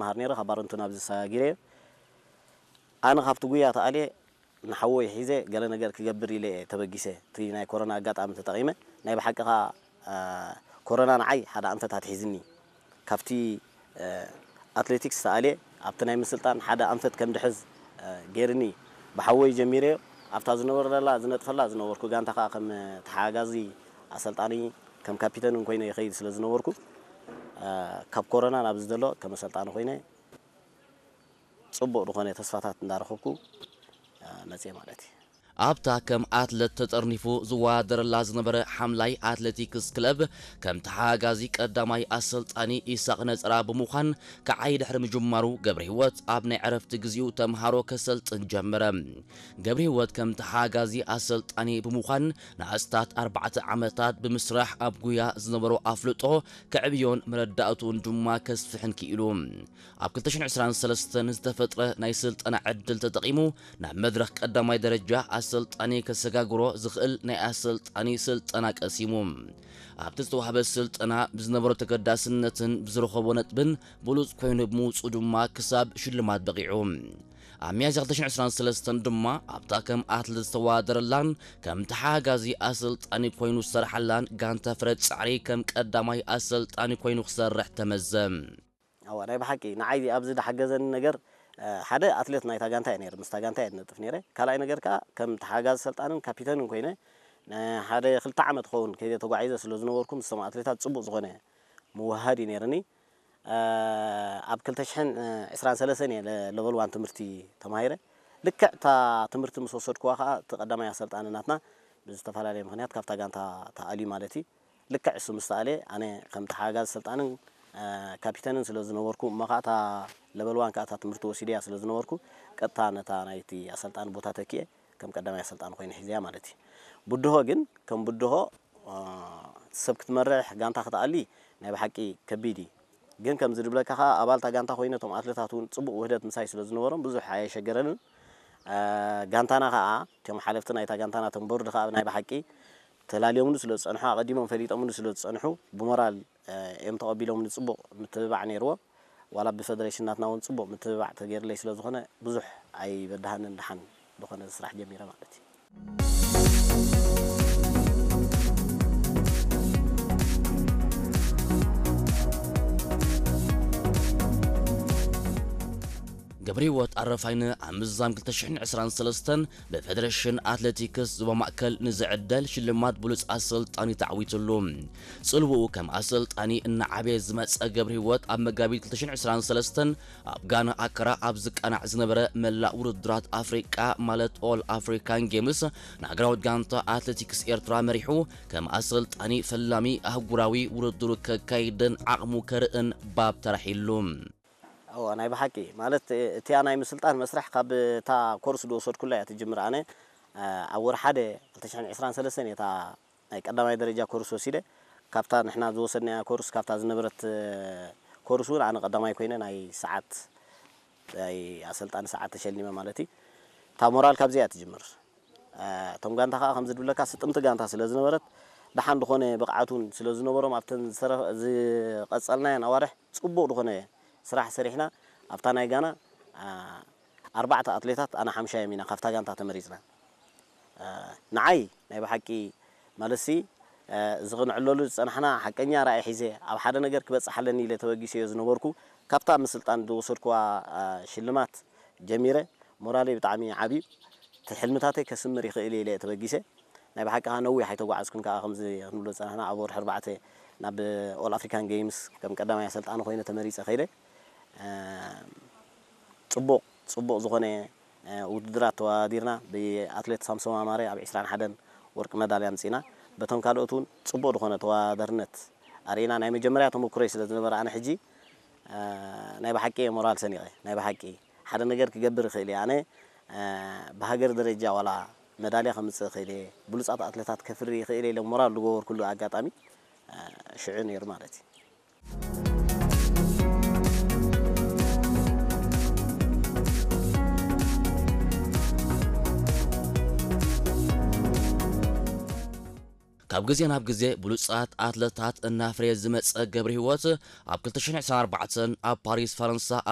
መሃር ነይረ፣ ካብ ባረንቱ ናብዚ ሰጊረዮ። ኣነ ካብቲ ጉያ ተኣልየ ንሓወይ ሒዘ ገለ ነገር ክገብር ኢለ እየ ተበጊሰ። እቲ ናይ ኮሮና ኣጋጣሚ ተጠቒመ፣ ናይ ብሓቂ ኸኣ፣ እ፣ ኮሮና ንዓይ ሓደ ኣንፈት ኣትሒዝኒ። ካብቲ፣ እ፣ ኣትሌቲክስ ተኣልየ ኣብቲ ናይ ምስልጣን ሓደ ኣንፈት ከም ድሕዝ፣ እ፣ ገይርኒ። ብሓወይ ጀሚረዮ። ኣብታ ዝነበረላ፣ ዝነጥፈላ ዝነበርኩ ጋንታ ኸኣ ከም ተሓጋዚ ኣሰልጣኒ፣ ከም ካፒተን እውን ኮይነ ይኸይድ ስለ ዝነበርኩ፣ እ፣ ካብ ኮሮና ናብዚ ዘሎ ከም ኣሰልጣኒ ኮይነ ጽቡቕ ዝኾነ ተስፋታት እንዳረኸብኩ፣ እ፣ መጽየ ማለት እዩ። ኣብታ ከም ኣትለት ተጠርኒፉ ዝወዳደረላ ዝነበረ ሓምላይ ኣትሌቲክስ ክለብ ከም ተሓጋዚ ቀዳማይ ኣሰልጣኒ ኢሳቕ ነጸራ ብምዃን ክዓዪ ድሕሪ ምጅማሩ፣ ገብረ ህይወት ኣብ ናይ ዕረፍቲ ግዜኡ ተምሃሮ ከሰልጥን ጀመረ። ገብረ ህይወት ከም ተሓጋዚ ኣሰልጣኒ ብምዃን ንኣስታት ኣርባዕተ ዓመታት ብምስራሕ ኣብ ጉያ ዝነበሮ ኣፍልጦ ከዕብዮን መረዳእትኡን ድማ ከስፍሕን ክኢሉ። ኣብ ክልተ ሽሕን ዕስራን ሰለስተን ዝተፈጥረ ናይ ስልጠና ዕድል ተጠቒሙ ናብ መድረኽ ቀዳማይ ደረጃ ኣሰልጣኒ ከሰጋግሮ ዝኽእል ናይ ኣሰልጣኒ ስልጠና ቀሲሙ። ኣብቲ ዝተዋህበ ስልጠና ብዝነበሮ ተገዳስነትን ብዝረኸቦ ነጥብን ብሉጽ ኮይኑ ብምውጽኡ ድማ ክሳብ ሽልማት በቒዑ። ኣብ ሚያዝያ ክልተ ሽሕን ዕስራን ሰለስተን ድማ ኣብታ ከም ኣትለት ዝተወዳደረላን ከም ተሓጋዚ ኣሰልጣኒ ኮይኑ ዝሰርሓላን ጋንታ ፍረ ጻዕሪ ከም ቀዳማይ ኣሰልጣኒ ኮይኑ ክሰርሕ ተመዘ። እዋ፣ ናይ ብሓቂ ንዓይ ኣብዚ ዝሓገዘኒ ነገር፣ እ፣ ሓደ ኣትሌት ናይታ ጋንታ እየ ነይረ፣ ምስታ ጋንታ እየ ዝነጥፍ ነይረ። ካልኣይ ነገር ከኣ ከም ተሓጋዚ ሰልጣንን ካፒተንን ኮይነ ንሓደ ክልተ ዓመት ክኸውን ከይደ ተጓዒዘ ስለ ዝነበርኩ ምስቶም ኣትሌታት ጽቡቕ ዝኾነ ምውህሃድ እዩ ነይርኒ። እ፣ ኣብ ክልተ ሽሕን ዕስራን ሰለስተን እየ ለ-፣ ሌቨል ዋን ትምህርቲ ተማሂረ። ልክዕ እታ ትምህርቲ ምስ ወሰድኩዋ ከኣ እቲ ቀዳማይ ኣሰልጣኒ ናትና ብዝተፈላለየ ምኽንያት ካብታ ጋንታ ተኣልዩ ማለት እዩ። ልክዕ እሱ ምስ ተኣልየ ኣነ ከም ተሓጋዚ ሰልጣንን፣ እ፣ ካፒተንን ስለ ዝነበርኩ፣ እሞ ከኣ እታ ሌቨል ዋን ከኣ እታ ትምህርቲ ወሲደያ ስለ ዝነበርኩ፣ ቀጥታ ነታ ናይቲ ኣሰልጣኒ ቦታ ተኪኤ ከም ቀዳማይ ኣሰልጣኒ ኮይነ ሒዘያ ማለት እዩ። ብድሆ ግን ከም ብድሆ፣ እ፣ ሰብ ክትመርሕ ጋንታ ክትኣሊ ናይ ብሓቂ ከቢድ እዩ። ግን ከምዚ ዝብለካ ከኣ ኣባል እታ ጋንታ ኮይነ እቶም ኣትሌታት እውን ጽቡቕ ውህደት ምሳይ ስለ ዝነበሮም ብዙሕ ኣየሸገረንን። እ፣ ጋንታና ከኣ እቶም ሓለፍቲ ናይታ ጋንታና እቶም ቦርድ ከኣ ናይ ብሓቂ ተላልዮምሉ ስለ ዝጸንሑ፣ ኣቐዲሞም ፈሊጦምሉ ስለ ዝጸንሑ ብሞራል፣ እ፣ እዮም ተቐቢሎምኒ። ጽቡቕ ምትብባዕ ነይርዎ። ዋላ ብፈደሬሽን ናትና እውን ጽቡቕ ምትብባዕ ተገይርለይ ስለ ዝኾነ ብዙሕ ኣይበድሃንን፣ ደሓን ዝኾነ ስራሕ ጀሚረ ማለት እዩ። ገብረ ህይወት ኣረፋይነ ኣብ ምዝዛም ክልተ ሽሕን ዕስራን ሰለስተን ብፈደረሽን ኣትሌቲክስ ዞባ ማእከል ንዝዕደል ሽልማት ብሉጽ ኣሰልጣኒ ተዓዊትሉ። ጽልውኡ ከም ኣሰልጣኒ እናዓበየ ዝመጸ ገብረ ህይወት ኣብ መጋቢት ክልተ ሽሕን ዕስራን ሰለስተን ኣብ ጋና ኣክራ ኣብ ዝቃናዕ ዝነበረ መላእ ውድድራት ኣፍሪቃ ማለት ኦል ኣፍሪካን ጌምስ ንሃገራዊት ጋንታ ኣትሌቲክስ ኤርትራ መሪሑ ከም ኣሰልጣኒ ፈላሚ ኣህጉራዊ ውድድሩ ከካይድን ዓቕሙ ከርእን ባብ ተራሒሉ። እዋ፣ ናይ ብሓቂ ማለት፣ እቲኣ ናይ ምስልጣን መስርሕ ካብ እታ ኮርስ ዝወሰድኩላ እያ ትጅምር። ኣነ፣ እ፣ ኣብ ወርሒ ሓደ ክልተ ሽሕን ዕስራን ሰለስተን እየ እታ ናይ ቀዳማይ ደረጃ ኮርስ ወሲደ። ካብታ ንሕና ዝወሰድናያ ኮርስ፣ ካብታ ዝነበረት፣ እ፣ ኮርስ እውን ኣነ ቀዳማይ ኮይነ ናይ ሰዓት፣ ናይ ኣሰልጣኒ ሰዓት ተሸሊመ ማለት እዩ። እታ ሞራል ካብዚኣ እያ ትጅምር። እ፣ እቶም ጋንታ ከኣ ከምዚ ዝብለካ ስጥምቲ ጋንታ ስለ ዝነበረት፣ ደሓን ዝኾነ ብቕዓት እውን ስለ ዝነበሮም ኣብተን ዝተረ-፣ ዝቐጸልናየን ኣዋርሕ ጽቡቕ ዝኾነ ስራሕ ሰሪሕና። ኣብታ ናይ ጋና፣ እ፣ ኣርባዕተ ኣትሌታት ኣና ሓምሻዮም ኢና ካብታ ጋንታ ተመሪጽና። እ፣ ንዓይ ናይ ብሓቂ ማለትሲ፣ እ፣ እዚ ክንዕለሉ ዝጸናሕና ሓቀኛ ራእይ ሒዘ ኣብ ሓደ ነገር ክበጽሕ ኣለኒ ኢለ ተበጊሰዮ ዝነበርኩ። ካብታ ምስልጣን ዝወሰድኩዋ፣ እ፣ ሽልማት ጀሚረ ሞራለይ ብጣዕሚ ዓብዩ። እቲ ሕልምታተይ ከስምር ይኽእል እየ ኢለ እየ ተበጊሰ። ናይ ብሓቂ ከኣ ነዊሕ ኣይተጓዓዝኩን ከኣ ከምዚ ክንብሎ ዝጸናሕና ኣብ ወርሒ ኣርባዕተ ናብ ኦል ኣፍሪካን ጌምስ ከም ቀዳማይ ኣሰልጣኒ ኮይነ ተመሪጸ ከይደ። እ፣ ጽቡቕ፣ ጽቡቕ ዝኾነ፣ እ፣ ውድድራት ተወዳዲርና። ብኣትሌት ሳምሶም ኣማረ ኣብ ዕስራን ሓደን ወርቂ መዳልያ ኣምጺእና። በቶም ካልኦት እውን ጽቡቕ ዝኾነ ተወዳዳርነት ኣርኢና። ናይ መጀመርያ ተመኩሮይ ስለ ዝነበረ ኣነ ሕጂ፣ እ፣ ናይ ብሓቂ እየ ሞራል ሰኒቐ። ናይ ብሓቂ ሓደ ነገር ክገብር ይኽእል እየ። ኣነ፣ እ፣ ብሃገር ደረጃ ዋላ መዳልያ ከምጽእ ይኽእል እየ፣ ብሉጻት ኣትሌታት ከፍሪ ይኽእል እየ ኢለ ሞራል ዝገበርኩሉ ኣጋጣሚ፣ እ፣ ሽዑ ነይሩ ማለት እዩ። ካብ ግዜ ናብ ግዜ ብሉጻት ኣትለታት እናፍረየ ዝመጸ ገብረ ህይወት፣ ኣብ ክልተ ሽሕን ዕስራን ኣርባዕተን ኣብ ፓሪስ ፈረንሳ ኣብ